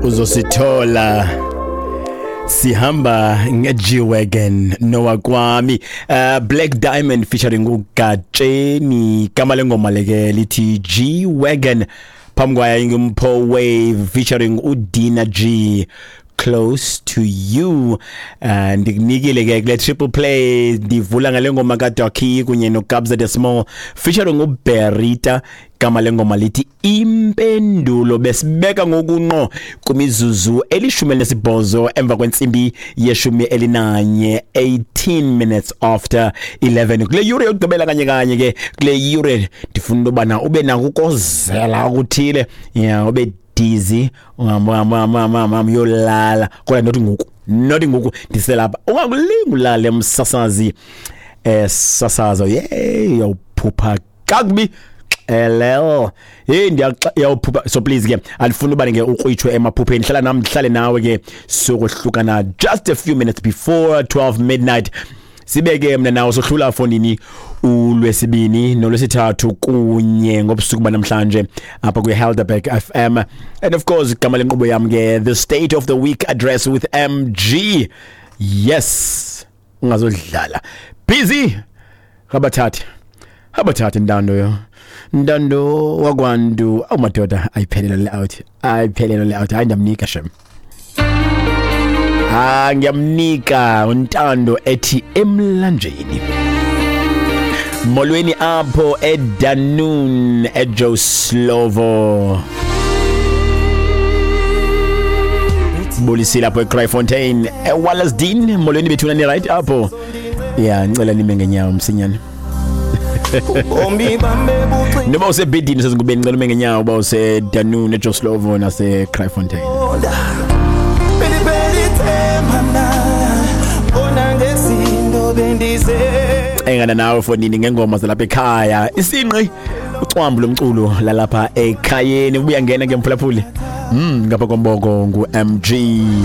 Uzosithola sihamba nge-G-Wagon nowakwami, Black Diamond featuring uGatsheni. Igama lengoma leke lithi G-Wagon. Phambi kwayo inguMpho Wave featuring uDina G, Close to You. Ndikunikile ke kule triple play, ndivula ngale ngoma kaDoki kunye noKabza de Small featuring uBerita. Igama lengoma lithi Impendulo. Besibeka ngokunqo kwimizuzu 18 emva kwentsimbi ye-11, 18 minutes after 11. Kule yure yokugqibela kanye kanye ke kule yure, ndifuna into yobana ube nako ukozela okuthile, ya ube dizzy, uhamba uhamba uhamba uhamba uhamba uyolala, kodwa not ngoku, not ngoku ndiselapha. Ungakulingi ulale msasazi, sasazo ye uyawuphupha kakubi xelel. Hey, ndiyawuphupha, so please ke andifuni uba ke ukrwitshwe emaphupheni. Hlala nam, ndihlale nawe ke, sokohlukana just a few minutes before 12 midnight. Sibe ke mna nawo sohlula fondini ulwesibini nolwesithathu kunye ngobusuku banamhlanje apha kwi-Helderberg FM. And of course igama lenkqubo yam ke, The State of the Week Address with MG. Yes, ungazodlala busy abathathe abathathe ntando yo ntando wakwantu. Awu madoda, ayiphelele le out, ayiphelele le out. Hayi, ndiyamnika shem. Ah, ngiyamnika uNtando ethi Emlanjeni. Molweni apho eDanun, eJoe Slovo. Bulisile apho eCraaifontein, eWallace Dean. Molweni bethuna, ni right apho? Ya, ngicela nime ngenyawo msinyane. Ubomi bam bebucinga. Noba usebhedini, usezingubeni, ngicela ume ngenyawo uba useDanun, eJoe Slovo naseCraaifontein. Beliphela ithemba mna, bona ngezinto bendize. Engana nawe fonini ngengoma zalapha ekhaya, isinqi ucwambu lomculo lalapha ekhayeni. Ubuya ngena ke mphulaphuli, ngapha komboko ngu-MG.